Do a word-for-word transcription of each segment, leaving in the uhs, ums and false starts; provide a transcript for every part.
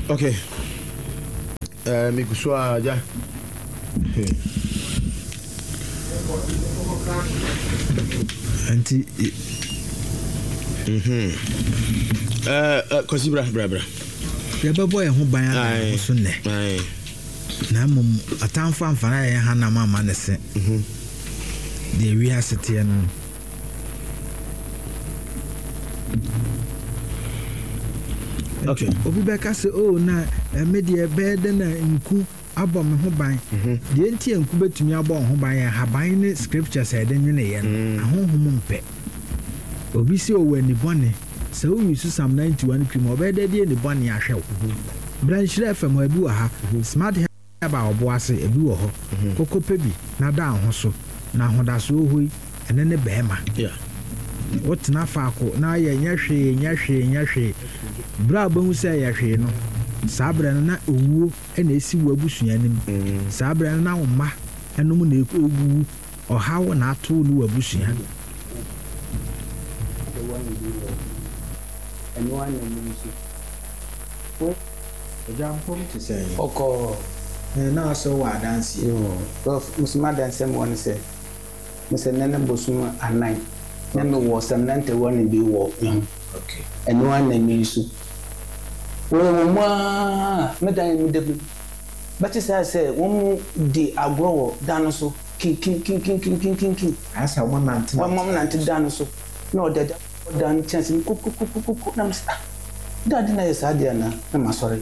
Okay. Eh, megu so a agya. Nti. Mhm. Eh, eh, Kwasi bra bra bra. Yɛbɛbɔ yɛn ho ban ada yɛn ho so nnɛ. Na mmom atamfo amfa na yɛn hanam amma ne se. Mhm. Deɛ wiase teɛ no. Okay. Obi bɛka sɛ, oh, na eh, me deɛ ɛbɛyɛ dɛ na nku abɔ me ho ban. Mhm. Deɛ nti a nku bɛtumi abɔ wo ho ban yɛ nhaban ne scriptures a yɛde nweneeɛ no. Mm. Ahonhom mpɛ. Obi sɛ ɔwɔ ani bɔne. Sɛ woyi so Psalm ninety-one twi mu a, ɔbɛyɛ dɛ de ani bɔne ahwɛ wo. Mhm. Bra Nhyira F M hɔ, ebi wɔ ha. Mhm. Smart Herb a ɔbo ase, ebi wɔ hɔ. Mhm. Koko pɛ bi na da wo ho so. Na ahodasoɔ hɔ yi, ɛne ne bɛrima. Yeah. Wotena faako na ayɛ nyɛ hwee, nyɛ hwee, nyɛ hwee. Berɛ a wobɛhu sɛ ɛyɛ hwee no, saa berɛ no na owuo na ɛsi wo abusua anim. Mm. Saa berɛ no na wo mma nom na ɛwuwu. Ɔhaw na ato wo ne w'abusua. Agya mpom te sɛn? Ɔkɔɔ. Ɛɛ, na ɔsɛ wowɔ adanseɛ. Yoo, Prof, me so m'adanseɛ mewɔ ne sɛ, me sɛ nnɛ ne bosom anan na me wɔ some ninety one bi wɔ me ho. Okay. Ɛno ara na me use. Wɔ wɔ mu ara, me dan me da bi. Bɛte saa sɛ wɔn mu di agorɔ wɔ dan no so, kin kin kin kin kin kin kin kin. Ayɛ sɛ wɔn nante Wɔn wɔn nante dan no so, na ɔde agya kɔ dan no kyɛnse mu kukukukuku na me sɛ ah, da ade na yɛ saa adeɛ anaa? Na ma sɔre.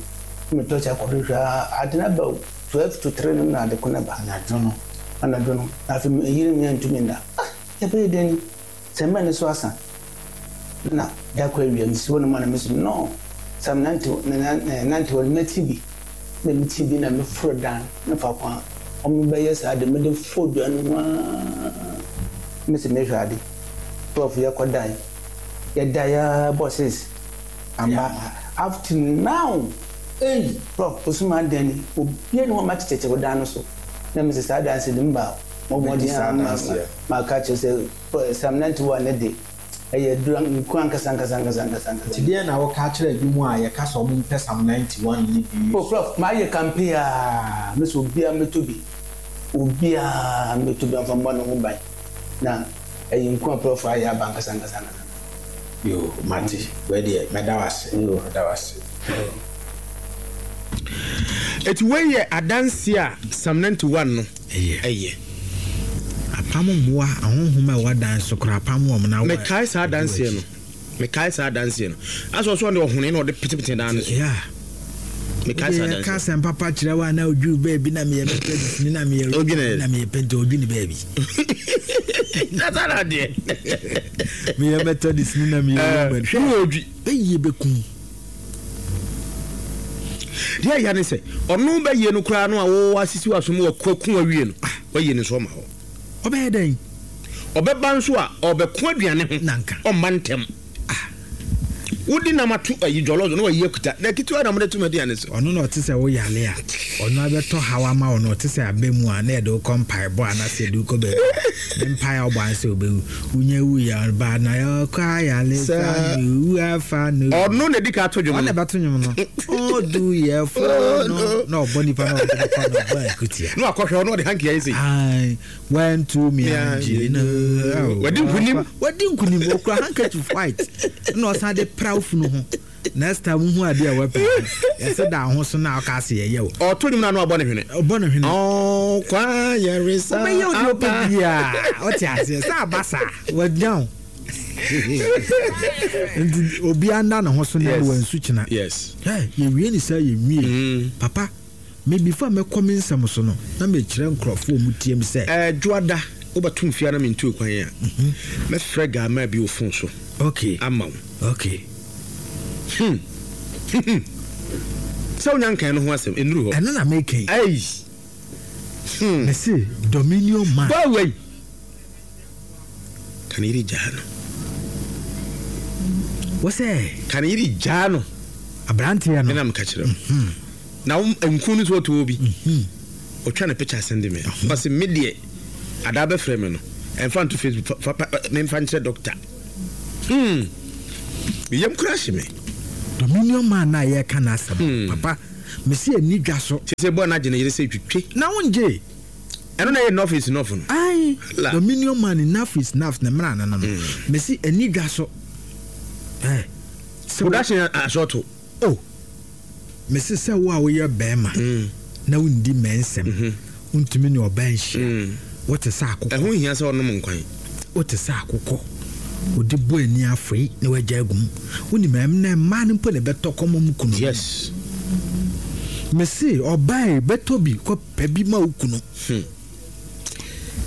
Na me tɔkye akɔhwehwɛ a, ade no aba o, twelve to three no na ade ko no ba. Anadwo no. Anadwo no, na afei me yere me antumi nna. Ah, yɛbɛyɛ dɛn ni? Sɛ mmɛ no so asa. Na da kɔ awia, mesi hɔ nom a na me so no, sɛ me nante, nante hɔ no, mɛte bi. Na mete bi na meforo dan no faako a wɔn bɛyɛ saa de, mede foro dua no ho ara. Mese mehwɛ ade. Prof, yɛkɔ dan. Yɛda ya bɔ six. Amba. Up to now. Ei! Prof, osuma dan ni. Obiara ni hɔ ma kyekyere dan no so. Na mese saa dan se de mba. Mo Mɛdi saa mmɔden a adanseɛ. ma ka kyerɛ sɛ Psalm ninety-one ne de. Ɛyɛ dura nku ankasa ankasa ankasa ankasa ankasa. Nti deɛ na woka kyerɛ bi mu a yɛka sɛ ɔmo mpɛ Psalm ninety-one yi bi? Oh Prof, mayɛ campaign a, mese obiara mmɛtɔ bi. Obiara mmɛtɔ bi amfa mmɔ ne ho ban. Na ɛyɛ nku a Prof ayɛ aba ankasa ankasa ankasa. Yo, mate. Wei deɛ, mɛda wo ase. Yo. Mɛda wo ase. Eti wei yɛ adanse a Psalm ninety-one no Ɛyɛ. ɛyɛ. Apam mmoa ahonhom a ɛwɔ dan so koraa apam wɔn na wɔ- Mekae saa adanseɛ no. Mekae saa adanseɛ no. Asɛ ɔso ɔde ɔhone na ɔde petepete dan no so. Yeah. Mekae saa Yɛka adanseɛ. asɛm papa kyerɛ wo a na odwiri baabi na meyɛ Methodist ni na meyɛ Odwene. na meyɛ Pente odwene baabi. Nasa na adeɛ. Meyɛ Methodist ni na meyɛ Eh, Roman. hwɛ wɔ odwi. Bɛyie bɛkum. Deɛ ɛyɛ ne sɛ ɔno bɛyie no koraa no a wɔwɔ asisi wɔ asom wɔ kwaku awie no. Wɔyie no nso ɔma hɔ. Ɔbɛyɛ dɛn? Ɔbɛba nso a ɔbɛko aduane ho. Nanka. Ɔmma ntɛm. Ah. Wodi nam ato ayi jɔlɔjɔ na wayi akuta. Na ketewa na mode to m'aduane so. Ɔno na ɔte sɛ woyale a, ɔno abɛtɔ haw ama wo na ɔte sɛ abɛ mu a na yɛde wo kɔ mpaebɔ anaasɛ yɛde wo kɔ baabi. Ne mpae a ɔbɔ ansa ɔbɛwu. Wonya wu yɛ ɔba na yɛkɔ ayale sa ne wu afa no. Ɔno na edi ka ato dwom Ɔno no. na ɛbɛto dwom no. Ɔdu yɛ fo no. Na ɔbɔ nipa na ɔde nipa na ɔbɔ akutia. Na wakɔhwɛ ɔno ɔde hanky ayɛ sei. Ae, one, two, me angye no. Wadi nkunim. Wadi nkunim. Okura handkerchief white. Na ɔsan de pra wo funu ho. Next time wohu ade a wapɛ. Yɛsɛ da ho so na ɔka ase yɛyɛ wo. Ɔto nnwom na ano abɔ ne hwene. Ɔbɔ ne hwene. Ɔkwa yɛresa. Ɔbɛyɛ wo deɛ ɔpɛ biara. Ɔte aseɛ. Sɛ aba saa, wanya wo. Nti obiara nda ne ho so na Yes. wansu kyena. Yes. Hey, yɛwie ne saa yɛnwie. Mm. Papa, me before mɛkɔ me nsɛm so no, na mekyerɛ nkurɔfoɔ a ɔmo tie me sɛ. Eh, Dwoada, wobɛto mfie a na mentu kwan a, mɛfrɛ Gama bi wɔ phone so. Okay. Ama wo. Okay. Hmm. Sɛ wonya nkan no ho asɛm, ɛnnuru hɔ. Ɛno na meka yi. Ei. Hmm. Mese, Dominion man. Go away. Ka ne yere gyaa no. Wo sɛ? Ka ne yere gyaa no. Aberanteɛ no. Ɛna meka kyerɛ wo. Na wo nku no so ɔtɔ obi. Ɔtwa ne picture send me. Ɔse me deɛ adaa bɛfrɛ me no. Ɛmfa nto Facebook fa, fa, fa, memfa nkyerɛ doctor. Hmm. Meyam kura hye me. Dominion man na yɛka n'asɛm, papa, mesi ani dwa so. Sɛ bɔ na gyene yere sɛ twitwe na wongye. Ɛno na yɛ enough is enough no. Aye, Dominion man, enough is enough na mmra no no. Mesi ani dwa so. Eh, production asɔto. Oh, mesi sɛ wo a woyɛ bɛrima na wondi mɛnsɛm, wontumi ne ɔbaa nhyia, wote sɛ akokɔ. Ɛho hia sɛ ɔnom nkwan. Wote sɛ akokɔ, wode bɔ ani afei na wagya agum. Wonim ɛm na mmaa no mpo na ɛbɛtɔ kɔmɔ mu kunu. Yes. Mesi ɔbaa bɛtɔ bi kɔ pɛ bi ma wo kunu.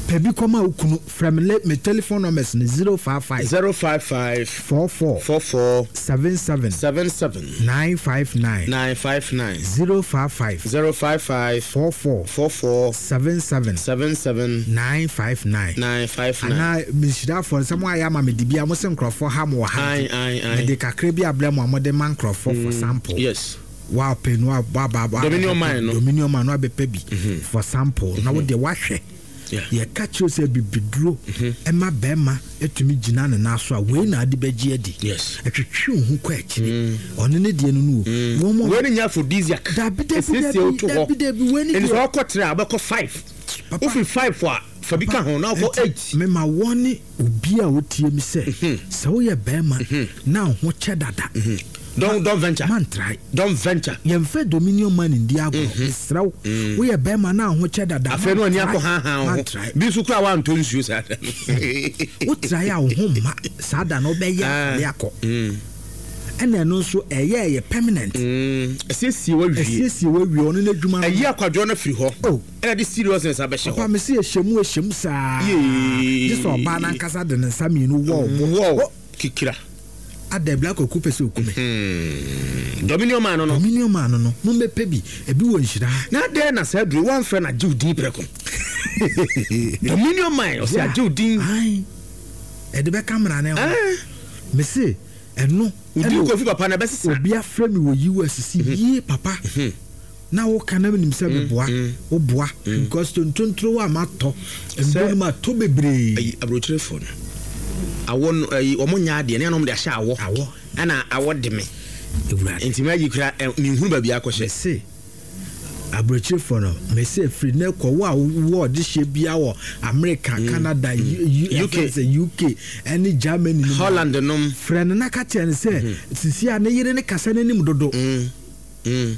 Pɛ bi kɔ ma wo kunu. Frɛ me, me telephone numbers ni zero five five zero five five four four four four seven seven seven seven nine five nine nine five nine zero five five zero five five four four four four seven seven seven seven nine five nine nine five nine. Ana mesira for nsɛm a yɛ ama me de bia mo se nkurɔfoɔ ha mo wɔ ha. Aye, aye, aye. Mede kakra bi abrɛ mo a mode ma nkurɔfoɔ for sample. Yes. Wa pe no wa ba ba Dominion man no. Dominion man no abɛpɛ bi for sample. Na wo de wahwɛ. Yɛ ka kyerɛ sɛ bibiduro ɛma bɛrima etumi gyina ne nan so a wei na ade bɛgye adi. Yes. Ɛtwetwe wo ho kɔ akyire. Ɔno ne deɛ no no o. Wɔn mo Wei ne nya aphrodisiac. Dabi, dabi, Esiesie dabi, wo to hɔ. dabi, dabi, wei ne Ɛnti deɛ sɛ ɔkɔ three a, ɔbɛkɔ five. Papa. Wofi five a, fa bi ka ho na ɔkɔ Ɛnti, eight. mema wɔne obi a wotie mi sɛ, sɛ woyɛ bɛrima na wo ho kyɛ dada, Don't, don't venture. Mantry. Don't venture. Yɛmfa Dominion man ndi agorɔ. Mesrɛ wo, woyɛ bɛrima na wo ho kyɛ dada, Afei no ani mantry. akɔ ha ha wo ho. Mantry. Bi nso koraa woantɔ nsuo saa da no. Wotrae a wo ho mma saa da no, wobɛyɛ Ah. akɔde akɔ. Ɛna ɛno nso ɛyɛ ɛyɛ permanent. Mm. Ɛsiesie wawie. Ɛsiesie wawie, ɔno n'adwuma no. Ɛyi akwadwoɔ no afiri hɔ. Oh. Ɛna de seriousness abɛhyɛ Papa, hɔ. mesi ɛhyɛ mu, ɛhyɛ mu saa. Yee. Gye sɛ ɔbaa n'ankasa de ne nsa mmienu wɔ ɔbo. Wɔ. Oh. Kikira. Ada Black Kwaku pɛ sɛ okume. Hmm. Dominion man no no. Dominion man no no. Mo mbɛpɛ bi. Ebi wɔ nhyira. Na adɛn na saa duro wɔamfrɛ no agye wo din prɛko? Dominion man ɔsɛ agye wo din. Ayi. Ɛde bɛka mmara ne ho. Ah. Mese ɛno. Wo din ɛna Kofi papa na ɛbɛsesa. Obi afrɛ me wɔ U S si yie papa. Na wo ka na menim sɛ meboa. Wo boa. Because tontontoro a matɔ. Nduro no matɔ bebree. Ayi aburokyerefoɔ no. Awɔ no, ayi, wɔn nyɛ adeɛ, ne yɛn de ahyɛ awɔ. Awɔ. Ɛna awɔ de me. Ewurade. Nti mɛ ayi kura, ɛ, minhunu baabi akɔhyɛ. Mese aburokyerefoɔ no, mese firi ne kɔ wo a wɔ ɔde hyɛ bia wɔ America, Canada, U-, U-, U K. sɛ U K ɛne Germany no mu. Holland nom. Frɛ no na ka kyerɛ no sɛ, sisi a ne yere ne kasa n'anim dodo. Mm. Mm.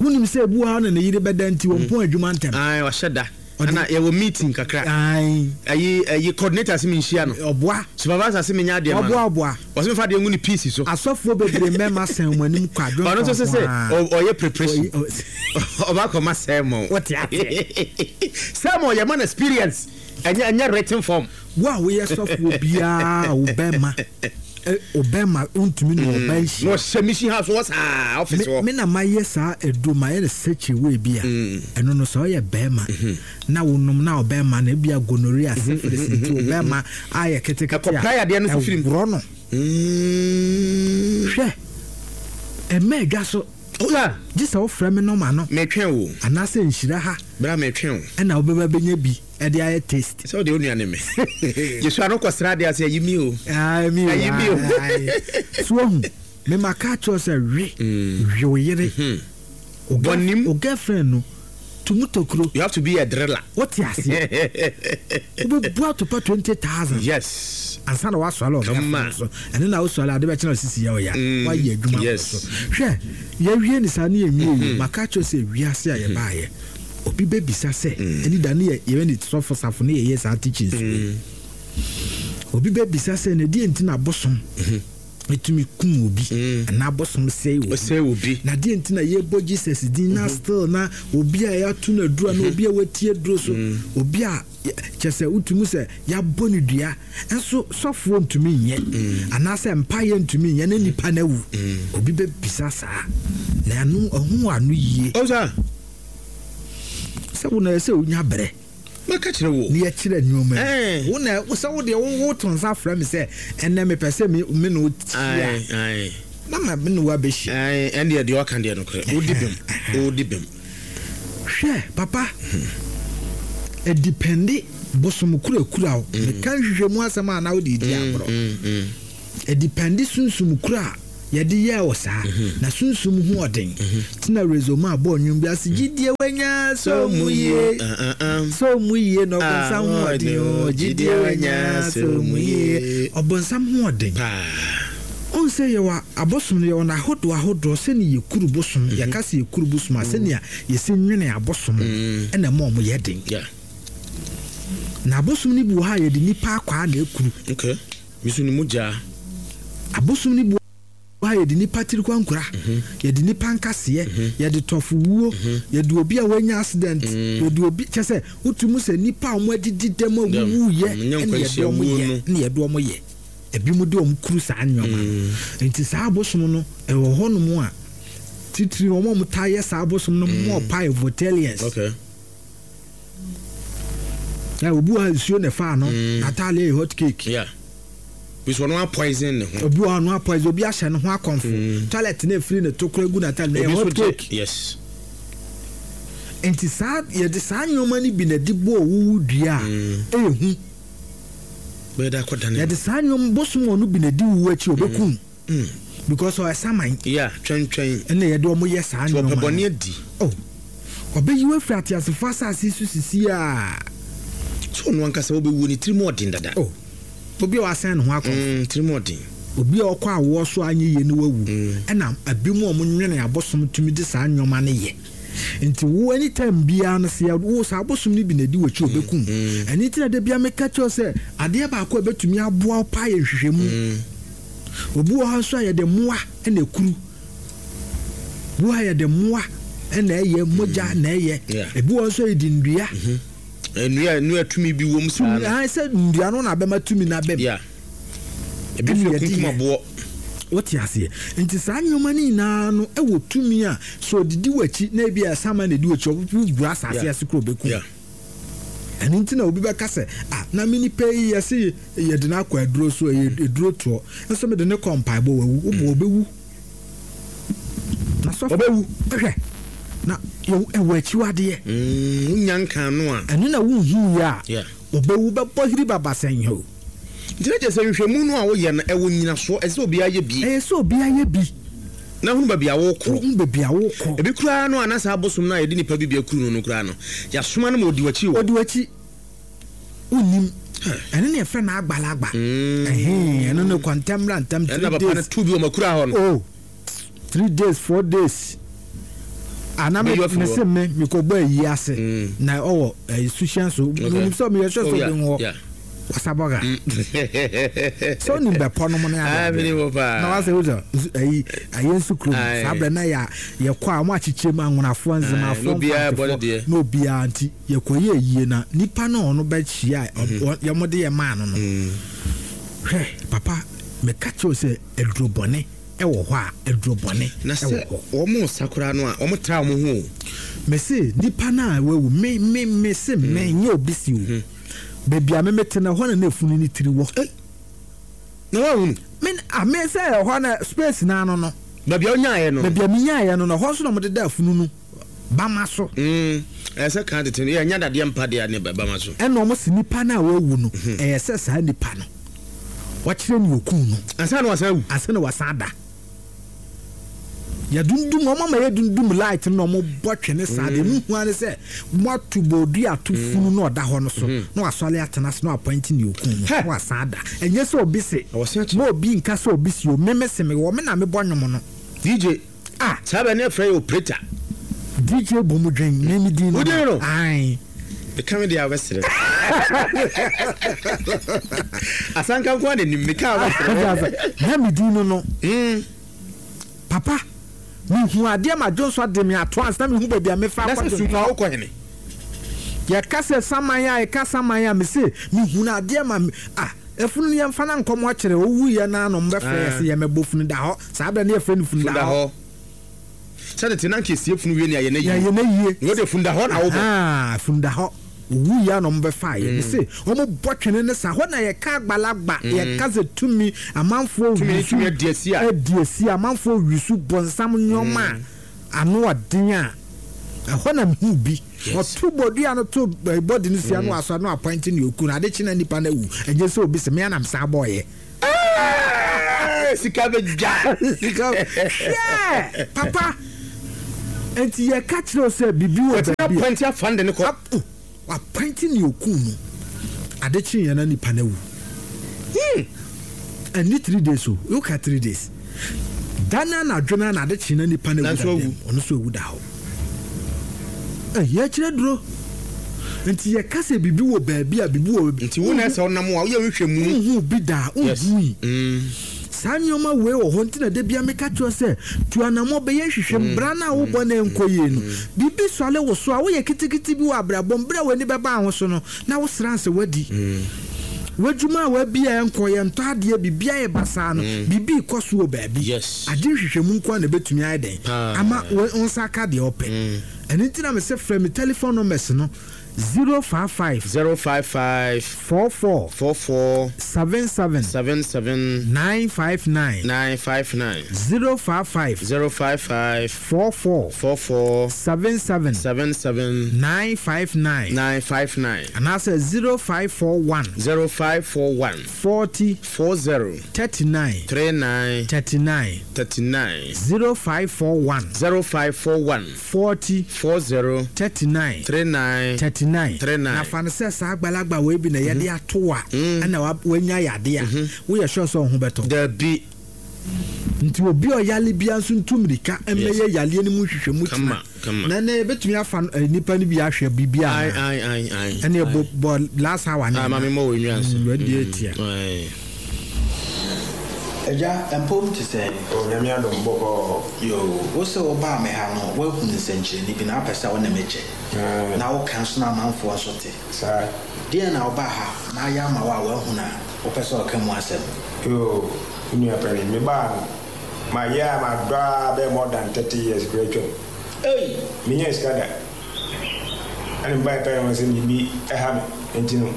Wonim sɛ ebu ha na ne yere bɛda nti wɔn pɔn adwuma ntɛm. Ayi, wahyɛ da. Ɔde Ana yɛwɔ meeting kakra. Ayi. Ayi, ayi coordinator se mi nhyia no. Ɔboa. Supervisor se mi nya adeɛ ma no. Ɔboa, ɔboa. Ɔse mi fa adeɛ ngu ne piece so. Asɔfoɔ bebree mmarima sɛn wɔn anim kɔ adwene Ɔno nso sɛ sɛ, kɔnkɔn a. ɔ-, ɔyɛ preparation. Ɔyi, ɔ-, Ɔba kɔ ma sermon. Wɔte aseɛ. Sermon yɛ man experience. Ɛnyɛ, ɛnyɛ written form. Wo a woyɛ sɔfoɔ biara, wo bɛrima, ɛ, wo bɛrima ntumi ne ɔba nhyia. Na ɔhyɛ mission house wɔ saa office Me, hɔ. me na mayɛ saa aduro, mayɛ no such a way bi a, Mm. ɛno no sɛ ɔyɛ bɛrima, Mm-hmm. na wonom na ɔbɛrima no, ebi a gonorrhea, Mm-hmm, syphilis mm-hmm, nti mm-hmm, ɔbɛrima ayɛ ketekete a, Ɛkɔ prayer deɛ no so firi mu. ɛworɔ no. Mm. Hwɛ, ɛmɛ adwa so. Oh, yeah. Gye sɛ wofrɛ me nɔma no. Metwɛn wo. Anaasɛ nhyira ha. Bra metwɛn wo. Ɛna wobɛba bɛnya bi ɛde ayɛ taste. Sɛ wode wo nua ne me. Yesu ano kɔsra adeɛ ase, ayi mi o. Ayi mi o. Ayi mi o. Ayi. So wahu, me ma ka kyerɛ sɛ we, Mm. we wo yere. Mm-hmm. Wo girl-, Bɔnim. wo girlfriend no, tumu tokuro. You have to be a driller. Wote aseɛ? Wobɛbu atopa twenty thousand. Yes. Ansa na woasɔre ɔbɛfo Come on. so. Ɛno na wosɔre ade bɛkyerɛ wo sisi yɛ wo ya. Mm. Woayɛ adwuma Yes. so. Hwɛ, yɛwie ne saa ne yɛnwie yi. Mm-hmm. Maka kyerɛ sɛ wiase a yɛbaeɛ, obi bɛbisa sɛ, Mm. ɛne da ne yɛ, yɛbɛ ne sɔfo safo ne yɛyɛ saa teachings yi. Mm. Obi bɛbisa sɛ, na deɛ nti na abosom Mm-hmm. etumi kum obi, Mm. anaa abosom sɛe obi. Ɔsɛe obi. Na deɛ nti na yɛbɔ Jesus din na Mm-hmm. still na obi a yɛato no aduro, na Mm-hmm. obi a watie aduro so, Mm. obi a yɛ-, kyerɛ sɛ wotumi sɛ yɛabɔ no dua, nso sɔfoɔ ntumi nyɛ, Mm. anaasɛ mpaeɛ ntumi nyɛ, na nipa no awu. Mm. Obi bɛbisa saa. Na ɛno, ɛho ano yie. Ɔwɔ saa? Sɛ wo na ɛsɛ wonya brɛ. Mɛka kyerɛ wo. Ne yɛkyerɛ nneɛma mu. Eh. Wo na, wo sɛ wo deɛ, wo, wo to nsa frɛ me sɛ, ɛnnɛ mepɛ sɛ me, me ne wo hyia. Aye, aye. Na ma me ne wo abɛhyia. Aye, ɛn deɛ, deɛ ɔka deɛ nokorɛ. Wodi bem. Wodi bem. Hwɛ, papa. Ɛdipɛnde bosom kurakura wo. Mm. Meka nhwehwɛ mu asɛm a na wode di Mm, agorɔ. mm, mm. Ɛdipɛnde sunsum kura a Yɛde yɛɛ wɔ saa na sunsum ho ɔden tena rezoma abɔ nnwom bi ase gyidie wanya sɛ mu yie sɛ mu yie na ɔbɔnsam ho ɔden o gyidie wanya sɛ mu yie ɔbɔnsam ho ɔden ɔn sɛ yɛwɔ abosom no yɛwɔ n'ahodoɔ ahodoɔ sɛne yɛkuru bosom yɛka sɛ yɛkuru bosom a sɛnea yɛsi nwene abosom ɛna ɛma ɔmo yɛ den na abosom no bi wɔ ha a yɛde nipa akwaa na ekuru okay misu ni mogya abosom no bi wɔ ha yɛde nipa tiri kwankora yɛde nipa nkaseɛ yɛde tɔfo wuo yɛde obi a wanya accident yɛde obi kyɛ sɛ wotu sɛ nipa a wɔn adidi dɛm a wuwu yɛ ɛna yɛde wɔn yɛ ɛna yɛde wɔn yɛ ebi mu de wɔn kuru saa nneɛma no nti saa abosom no ɛwɔ hɔnom a titiri wɔn a wɔn taa yɛ saa abosom no mu ɔpa yɛ Voltalians okay na obi wɔ ha nsuo na ɛfa ano n'ataale yɛ hot cake yeah bisu ɔno apoison ne ho obi wɔ ha no apoison obi ahyɛ ne ho akɔnfo toilet na efiri ne to kora gu n'ataale na ɛyɛ hot cake yes nti saa yɛde saa nneɛma no bi na ɛde bɔ owuwu dua a ɛyɛ hu bɛyɛ da akɔda ne yɛde saa nneɛma bosom wɔn no bi na ɛdi wuwu akyi obekum because ɔyɛ saman yeah twɛntwɛn ɛna yɛde wɔn yɛ saa tí nneɛma ɔpɛ no bɔne adi oh ɔbɛyi wo afiri ateasefo asase so sisi a sɛ ɔno ankasa wobɛwuo ne tirim ɔden dada oh obi a wasan ne ho akɔ Mm, tirim ɔden obi a ɔkɔ awoɔ so anyɛ yie ne wawu ɛna ebi mu a wɔn nwene abosom tumi de saa nneɛma no yɛ nti wo anytime biara no sɛ wo saa abosom no bi na edi w'akyi obekum ɛne ti na de bia meka kyerɛw sɛ adeɛ baako a ebɛtumi aboa wo paa yɛ nhwehwɛmu obi wɔ hɔ nso a yɛde mmoa ɛna ekuru obi wɔ hɔ a yɛde mmoa ɛna ɛyɛ mogya na ɛyɛ Yeah. ebi wɔ hɔ nso a yɛde nnua nnua nnua tumi bi wɔ mu saa tumi no ahan sɛ nnua no na abɛma tumi na abɛm yeah ebi Ɛna nso yɛde kunkum yɛ. aboɔ wote aseɛ nti saa nneɛma no nyinaa no ɛwɔ tumi a sɛ ɔdidi w'akyi na ebi a sama na edi w'akyi ɔwura asase Yeah. ase kuro bɛkum yeah ɛno nti na obi bɛka sɛ ah na me nipa yi yɛse yɛde no akɔ aduro so ɛyɛ aduro toɔ nso mede ne kɔ mpaebɔ wawu wobɔ ɔbɛwu na sɔfo ɔbɛwu hwɛ na yɛwɔ- ɛwɔ akyiwadeɛ Mm, wonya nka no a ɛno na wonhu yɛ a yeah ɔbɛwu bɛbɔ hiri baba sɛn o nti na kyerɛ sɛ nhwehwɛmu no a woyɛ no ɛwɔ nyinasoɔ ɛsɛ sɛ obiara yɛ bi ɛyɛ sɛ obiara yɛ bi na hunu baabi a wokɔ wohu baabi a wokɔ ebi koraa no a na saa abosom no a yɛde nipa bi bi akuru no no koraa no yɛasoma no ma ɔdi w'akyi wɔ ɔdi w'akyi wonnim ɛno ne yɛfrɛ no agbalagba Mm. ɛhɛn ɛno ne kɔntɛm ra ntɛm ɛna three papa no days tu bi wɔ makura hɔ no oh three days four days ana me Bɛyi afiri me hɔ. se me mekɔbɔ ayi ase Mm. na ɔwɔ ɛyi suhyɛn so menim sɛ meyɛ sɛ sɛ Oh, yeah, obi wɔ yeah. wasabɔga sɛ wonim bɛpɔ nom ne Ah, ade menim hɔ paa. na wasɛ wosɛ nsu- ayi ayɛ nsu kurom Aye. saa berɛ na yɛ yɛkɔ a ɔmo akyekyere mu anwonafoɔ Aye, nzemafoɔ na obiara bɔ ne mfantefoɔ deɛ. na obiara nti yɛkɔyɛ ayie na nipa no a ɔno bɛhyia a Mhm. ɔ- yɛmode yɛ maa no no Mm. hwɛ papa meka kyerɛw sɛ aduro bɔne ɛwɔ hɔ a aduro bɔne na ɛwɔ sɛ hɔ wɔn sa koraa no a wɔn tra wɔn ho o mese nipa no a wawu me me me se me Mm. nyɛ obi si o baabi a me mete no ɛhɔ na na efunu ne tiri wɔ na wɔahunu me a me sɛ ɛhɔ na space na ano no baabi a wonyaeɛ no baabi a menyaeɛ no no ɛhɔ nso na mode da afunu no bama so Mm, ɛyɛ sɛ kan tete no yɛ nya dadeɛ mpa deɛ ne bɛma so ɛna ɔmo se nipa no a wawu no Mhm. ɛyɛ sɛ saa nipa no wɔkyerɛ ne okun no ansa na wasan awu ansa na wasan da yɛdundum ɔmo ama yɛdundum light no na ɔmo bɔ twene saa deɛ mu hu ane sɛ mo ato bɔɔdu ato funu na ɔda hɔ no so na wasɔre atena so na wapɔnti ne okun no Hɛ! na wasan da ɛnyɛ sɛ obi se Ɔwɔ se akyi. ma obi nka sɛ obi si o meme se me wɔ me na mebɔ nwom no dj ah saa bɛ ne ɛfrɛ yɛ operator dj bɔ mu dwen meme din Wo din no? ae meka me deɛ a wobɛserɛ asanka nko a nanim meka a wobɛserɛ na me din no no Mm, papa mehu adeɛ ma dwonso de me ato ansa na mehu baabi a mefa na sɛ akɔ su no a wokɔ hene yɛka sɛ saman a yɛka saman a mese mehu no adeɛ ma me ah efunu no yɛmfa na nkɔmɔ kyerɛ owu yɛ na ano mbɛfrɛ yɛ sɛ yɛmɛbɔ funu da hɔ saa bɛ ne yɛfrɛ no funu funu da da hɔ hɔ sɛ tete na nka esie funu wie ne ayɛ na yie yɛyɛ na yie na wode funu da hɔ na wobɔ ah funu da hɔ owu yɛ na ɔmo bɛfa yɛ mese ɔmo bɔ twene ne sa hɔ na yɛka agbalagba yɛka sɛ tumi amanfoɔ Tumi ne wisu tumi adi asi a. adi asi amanfoɔ wisu bɔnsam nneɛma a ano ɔden a ɛhɔ na mehu bi Yes. ɔto bɔdua no to eh, bɔdi no sia no asɔ no apɔnte ne oku no ade kye na nipa no awu ɛnyɛ sɛ obi sɛ mea nam saa bɔɔyɛ Sika bɛdwa. Sika hwɛ papa nti yɛka kyerɛ wo sɛ biribi wɔ baabi a appoint afande ne kɔ. Appoint ne oku no ade kye yɛn na nipa no awu. Ɛni three days o, woka three days dana na adwena na ade kye na nipa no awu da dɛm ɔno so awu da hɔ. Ɛyɛ kyerɛ duro nti yɛka sɛ biribi wɔ baabi a biribi wɔ baabi. Nti wo na ɛsɛ ɔnam a woyɛ nhwɛ mu. Nhu bi da nhu yi. Saa nneɛma wei wɔ hɔ nti na da bia meka kyerɛ sɛ tu anammɔ bɛyɛ nhwehwɛ mbra no a wobɔ na ɛnkɔ yie no. Biribi sɔle wo so a woyɛ kitikiti bi wɔ abrabɔ mbra w'ani bɛba ho so no na wosra nsɛ wadi. W'adwuma a wabi a ɛnkɔ yɛ ntɔ adeɛ biribi ayɛ basaa no biribi kɔ so wɔ baabi. Agye nhwehwɛ mu nko a na ɛbɛtumi ayɛ dɛn ama wo nsa aka deɛ ɔpɛ. Ɛno nti na mesɛ frɛ me telephone numbers no zero five five zero five five four four four four seven seven seven seven nine five nine nine five nine zero five five zero five five four four four four seven seven seven seven nine five nine nine five nine and I say zero five four one zero five four one forty four zero thirty nine three nine thirty nine thirty nine zero five four one zero five four one forty four zero thirty nine three nine thirty nine. Three nine. Na fa no sɛ saa agbalagba wei bi na yɛde ato a ɛna wanya yadeɛ a woyɛ sure sɛ wo ho bɛtɔ. Dabi. Nti obi a ɔyale bia nso ntu mmirika mmɛyɛ yaleɛ no mu nhwehwɛ mu Kama, kama. Na ɛnɛ yɛbɛtumi afa nipa no bi ahwɛ biribi a. Aye, aye, aye, aye. Ɛne bɔ bɔ last hour ne. Ah, maame mo wɔ nwi ase. Wadi etia. Eja empom te sɛ Onyame adom bɔkɔ. Yo, wo sɛ wo ba me ha no, woahu nsɛnkyerɛnne bi na apɛ sɛ wo ne me kyɛ. Na wo ka nso na amanfoɔ nso te. Saa. Deɛ na wo ba ha na ayɛ ama wo a woahu na wopɛ sɛ ɔka mu asɛm. Yo, nua panin, me ba no, ma yɛ a ma dɔ a bɛyɛ more than thirty years kura twam. Ei! Menyɛ sika da. Ɛne mba pɛ no sɛ biribi ɛha me. Nti no,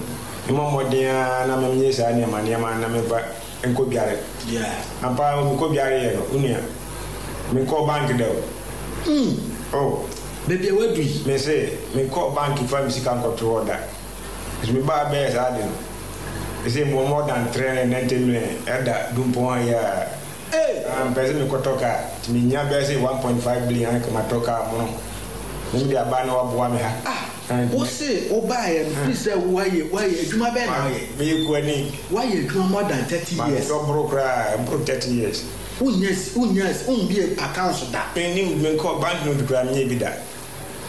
memmɔ mmɔden a na menyɛ saa nneɛma nneɛma na memfa nkɔ dware. Yeah. Ampa mekɔ dware yɛ no, wo nua, menkɔ bank da o. Mm. Oh. Baabi a wadu yi. Me se, menkɔ bank fa me sika nkɔto hɔ da. Nso me ba bɛyɛ saa de no. Me se, mo more than three hundred ninety million ɛda dumpɔn ha yi a. Hey! Mpɛ sɛ mekɔtɔ kaa. Nti menya bɛyɛ sɛ one point five billion anka matɔ kaa mono. Ne mede aba na waboa me ha. Ah! Wo se wo baeɛ no, firi sɛ woayɛ, woayɛ adwuma bɛn na woyɛ? Meyɛ kuani. Woayɛ adwuma more than thirty years. Matɔ boro koraa, mboro thirty years. Wonyɛ, wonyɛ, wombie accounts da. Mennim, menkɔ bank note koraa menyɛ bi da.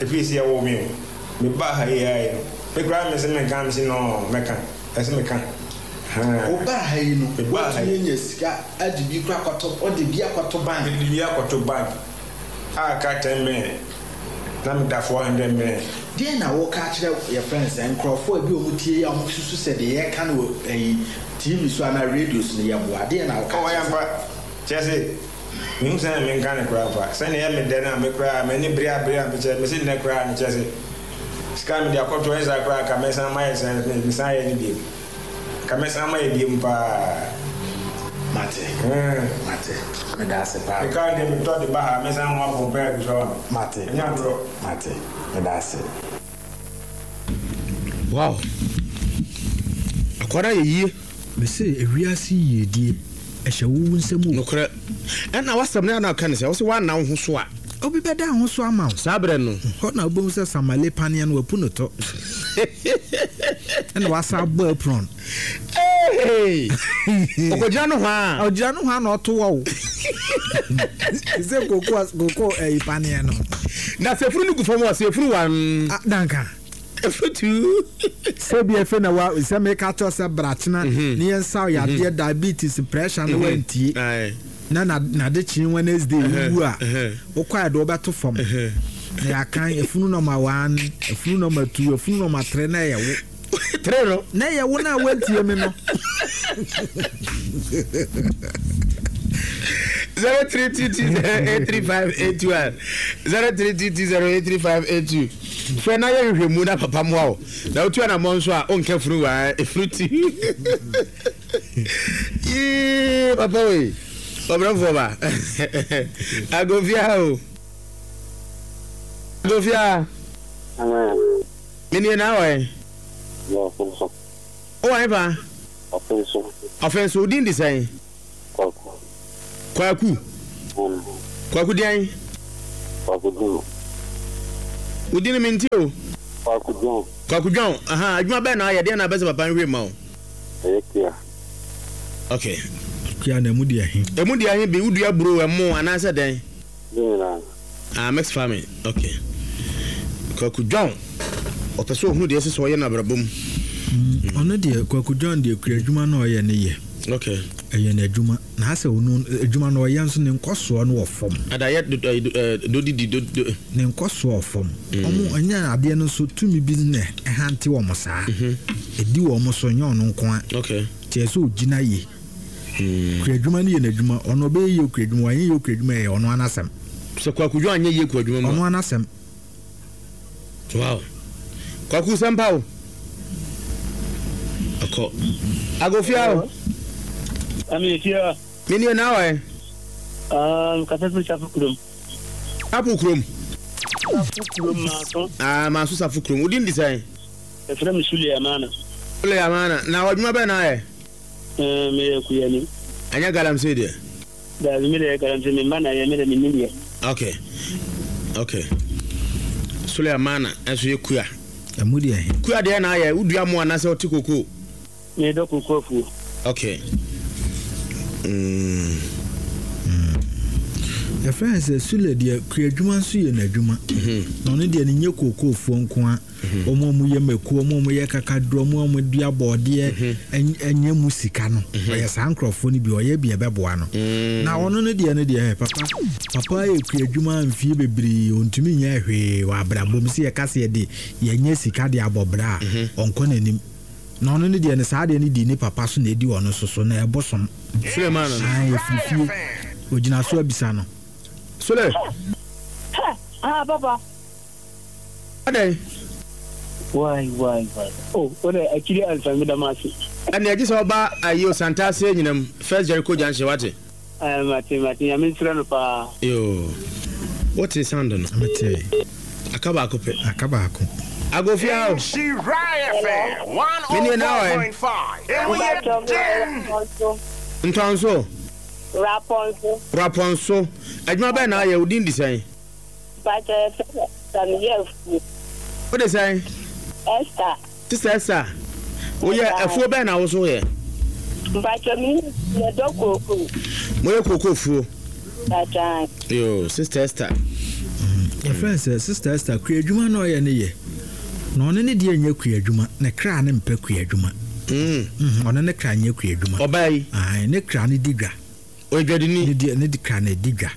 Ɛfiri sɛ yɛwoo me o. Mebaa ha yi ara yi no, me koraa me se menka, me se no, mɛka. Ɛsɛ meka. Wo baa ha yi no, woatumi anya sika ade bi koraa akɔto, wode bi akɔto bank. Mede bi akɔto bank a aka ten million. Na meda four hundred million. Deɛ na woka kyerɛ yɛ friends nkurɔfoɔ a bi wɔn tie yi a wɔn susu sɛ deɛ yɛka no wɔ ɛyi T V so anaa radio so no yɛ boa. Deɛ na woka Oh, kyerɛ ɛyɛ mpa. Kyerɛ sɛ, mehu sɛ menka ne koraa mpa. Sɛnea ɛyɛ me dɛ no a, me koraa, m'ani bere a bere a mekyɛ, mese nnɛ koraa no kyerɛ sɛ, sika mede akɔto ɛnyɛ saa koraa ka mɛsan mayɛ sɛ, mesan ayɛ ne bio. Ka mɛsan mayɛ bio paa. Mate. Mate. Meda ase paa. Meka de metɔ de ba ha, mɛsan ho abɔ mpae agu so ama me. Mate. Ɛnyɛ agorɔ. Mate. Meda ase. Wow. Akwara yɛ yie. Mese ewiase yiedie ɛhyɛ wo nsam o. Nokorɛ. Ɛna wasɛm no na aka ne sɛ wo sɛ woanna wo ho so a. Obi bɛda ho so ama wo. Saa berɛ no. Hɔ na wobɛhu sɛ Samale paneɛ no wapu no tɔ. Ɛna wasa abɔ apron. Hey! Ɔkɔgyina no hɔ a. Ɔgyina no hɔ a na ɔto wɔ wo. Sɛ koko koko ɛyi paneɛ no. Na sɛ efunu no gu fam a, sɛ efunu one. Ah, danka. Efunu two. Sɛ bi efe na wa sɛ meka kyerɛ sɛ bratena ne yɛn nsa yadeɛ diabetes pressure no wantie. Na na na de kyen Wednesday wu a wokɔ a de wobɛto fam. Na yɛakan efunu number one, efunu number two, efunu number three na ɛyɛ wo. Three no. Na ɛyɛ wo na wantie me no. zero three two two zero eight three five eight two one zero three two two zero eight three five eight two. Fɛ na yɛ hwehwɛ mu na papa mu awo na otu anamɔ nso a onka funu wa efunu ti. Yee papa wei ɔbrɛfoɔ ba agofia o agofia. Menie na awɔ yɛ. O wa fa. Ɔfɛnso. Ɔfɛnso odin di sɛn? Kwaku. Kwaku. Mm. Kwaku deɛn? Kwaku John. Wo din no mente o. Kwaku John. Kwaku John, aha, adwuma bɛn na ayɛ, deɛn na abɛsɛ papa nhwɛ ma wo? Ɛyɛ kua. Okay. Kua na emu deɛ he? Emu deɛ he bi, wodua buro, ɛmo anaasɛ dɛn? Ne nyinaa. Ah, mixed farming, okay. Kwaku John, ɔpɛ sɛ ɔhunu deɛ ɛsɛ sɛ ɔyɛ no abrabɔ mu. Mm, ɔno deɛ Kwaku John deɛ kura adwuma na ɔyɛ ne yɛ. Okay. Ɛyɛ n'adwuma. Na asɛ ɔno adwuma no ɔyɛ nso ne nkɔsoɔ no wɔ fam. Adayɛ dodidi do do. Ne nkɔsoɔ wɔ fam. Ɔmo ɛnyɛ adeɛ no nso tumi bi na ɛhante wɔn saa. Ɛdi wɔn so nyɛ ɔno nko ara. Okay. Nti ɛsɛ ɔgyina yie. Kura adwuma no yɛ n'adwuma. Ɔno ɔbɛyɛ yie kura adwuma, wanyɛ yie kura adwuma ɛyɛ ɔno ara n'asɛm. Sɛ Kwaku John anyɛ yie kura adwuma mu a. Ɔno ara n'asɛm. Wow. Kwaku sɛmpa o. Ɔkɔ. Agofia o. Ami efia. Me nie na awɔ Um, kasa firi Safo kurom. Apo kurom. Safo kurom maaso. Ah, maaso Safo kurom. Wodin di sɛn? Ɛfrɛ me Sule Amana. Sule Amana. Na ɔdwuma bɛn na ayɛ? Eh, meyɛ kuyani. Ɛnyɛ galamsey deɛ? Daabi, me deɛ galamsey me mma na yɛ, me deɛ mennim yɛ. Okay. Okay. Sule Amana nso yɛ kua. Ɛmu deɛ he? Kua deɛ na ayɛ, wodua mo anaasɛ wote kokoo? Medɔ kokoo afuo. Okay. Mm. Mm. Yɛfrɛ no sɛ Sule deɛ kua adwuma nso yɛ n'adwuma. Na ɔno deɛ ne nyɛ kookoofoɔ nko a. Wɔn a wɔyɛ mako, wɔn a wɔyɛ kakaduro, wɔn a wɔdua bɔɔdeɛ ɛnyɛ mu sika no. Ɔyɛ saa nkurɔfoɔ no bi, ɔyɛ bi ɛbɛboa no. Na ɔno no deɛ no deɛ papa papa yɛ kua adwuma mfie bebree, ɔntumi nyɛ hwee wɔ abrabɔ mu. Sɛ yɛka sɛ yɛde yɛnyɛ sika de abɔ bra a, ɔnkɔ n'anim. Na ɔno ne deɛ no saa adeɛ no di ne papa so na ɛdi ɔno nso so na ɛbosom. Suleiman no. Ae ɛfiri fie. Ɔgyina so abisa no. Sule. Hɛ! Ah papa. Adɛn? Wai wai wai oh wo dɛ akyiri ansa meda mo ase. Ɛnneɛ gye sɛ woba ayi o Santase anyinam First Jericho Junction wate. Ɛɛ mate mate Nyame nhyira no paa. Yoo wote sound no. Metee. Aka baako pɛ. Aka baako. Agofia o. Me nie na ɔɛ. Ntɔnso. Rapɔnso. Rapɔnso. Adwuma bɛn na ayɛ? Wo din de sɛn? Mpakyɛ yɛfrɛ me Esther meyɛ afuo. Wo de sɛn? Esther. Sister Esther, woyɛ afuo bɛn na wo so yɛ? Mpakyɛ me yɛdɔ kookoo. Moyɛ kookoo fuo? Mpakyɛ. Yoo, Sister Esther. Yɛfrɛ no sɛ Sister Esther, kua adwuma na ɔyɛ ne yɛ. Na ɔno ne deɛ nyɛ kua adwuma, ne kra ne mpɛ kua adwuma. Ɔno ne kra nyɛ kua adwuma. Ɔbaa yi? Ae, ne kra ne di dwa. Ɔyɛ dwadini? Ne deɛ ne kra na ɛdi dwa.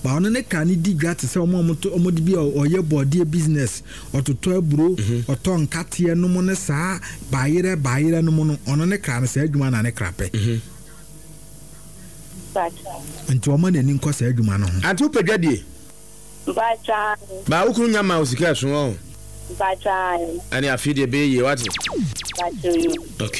Ba ɔno ne kra ne di dwa te sɛ wɔn a wɔtɔ wɔn de bi a ɔyɛ bɔɔdeɛ business, ɔtotɔ aburo, ɔtɔ nkateɛ nom ne saa bayerɛ bayerɛ nom no, ɔno ne kra no saa adwuma na ne kra pɛ. Nti ɔma n'ani nkɔ saa adwuma no ho. Ante wopɛ dwadie? Mpakyɛw. Ba wo kunu nya ma wo sika ɛso ɔho? Mpakyɛw. Ɛne afei deɛ ɛbɛyɛ yie wate? Mpakyɛw yoo. Okay.